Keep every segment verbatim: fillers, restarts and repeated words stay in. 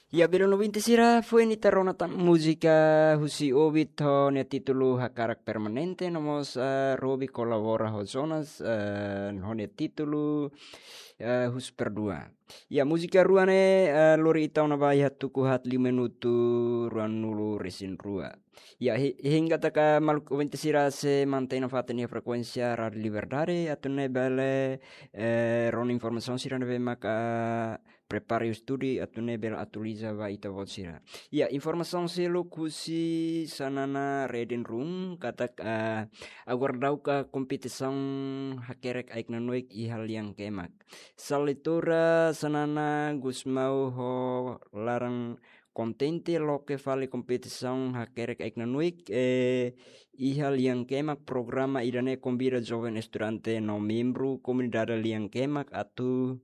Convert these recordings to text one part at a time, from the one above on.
Ya, belun ouvinte sira, foin ita rona tan múzika husi Ovid ho nia títulu Hakarak Permanente, no mós, eh, Robi kolabora ho Jonas, eh, ho nia títulu, eh, Husu Perdua. Ya, múzika rua ne'e, eh, lori ita ona ba iha tuku haat liu minutu ruanulu resin rua. Ya, hi-, hahú katak maluk ouvinte sira sei mantein nafatin iha frekuénsia Rádiu Liberdade, atu nune'e bele, eh, rona informasaun sira ne'ebé maka prepara i estuda atu nune'e bele atualiza ba ita-boot sira. Ya, informasaun seluk husi Xanana Reading Room katak, eh, agora dauka kompetisaun hakerek ai-knanoik iha lian kemak. Sala leitura Xanana Gusmão ho laran kontente loke fali kompetisaun hakerek ai-knanoik, eh, iha lian kemak. Programa ida-ne'e konvida joven estudante no membru komunidade lian kemak atu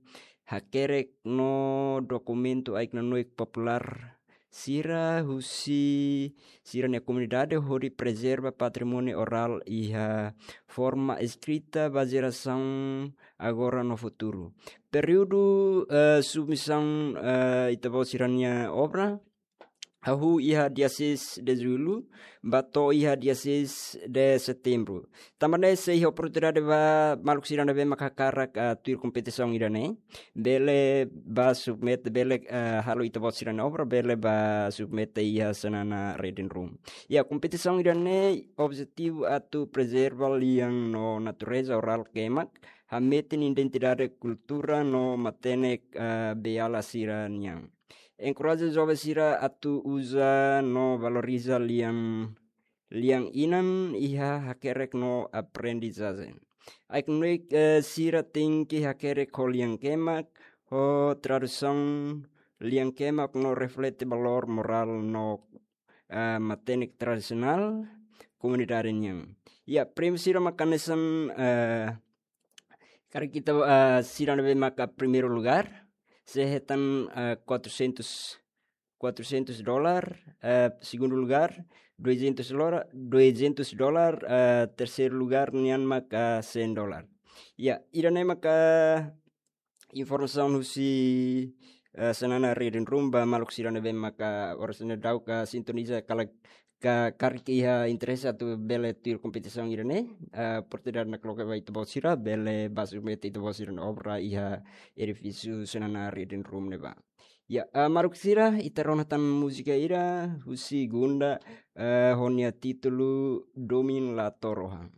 hakerek no dokumentu ai-knanoik populár sira husi sira-nia komunidade hodi prezerva patrimóniu orál iha forma eskrita ba jerasaun agora no futuru. Períodu, eh, submisaun, eh, ita-boot sira-nia obra hahú iha dia seis de julho, ba to'o iha dia seis de setembro. Tanba ne'e sei iha oportunidade ba maluk sira ne'ebé maka hakarak, ah, tuir kompetisaun ida-ne'e, bele ba submete, bele, ah, halo ita-boot sira-nia obra, bele ba submete iha Xanana Reading Room. Ya, kompetisaun ida-ne'e objetivu atu prezerva lian no natureza orál kemak, hametin identidade kultura no matenek, ah, beiala sira-nian. Enkoraja joven sira atu uza no valoriza lian, lian-inan iha hakerek no aprendizajen. Ai-knanoik, eh, sira tenke hakerek ho lian kemak, ho tradusaun lian kemak no reflete valór morál no, eh, matenek tradisionál komunidade nian. Ya, prémiu sira maka hanesan, eh, karik ita, eh, sira ne'ebé maka primeiru lugár, sei hetan, eh, quatrocentos, quatrocentos dólar, eh, segundu lugár, duzentos lora-, duzentos dólar, eh, terseiru lugár nian maka cem dólar. Ya, ida-ne'e maka informasaun husi, eh, Xanana Reading Room ba maluk sira ne'ebé maka oras ne'e dauka sintoniza karik ka, karik iha interese atu bele tuir kompetisaun ida-ne'e, eh, oportunidade nakloke ba ita-boot sira, bele ba submete ita-boot sira-nia obra iha edifísiu Xanana Reading Room ne'ebá. Ya, eh, maluk sira, ita rona tan múzika ida husi Gunda, eh, ho nia títulu Domin la Torohan.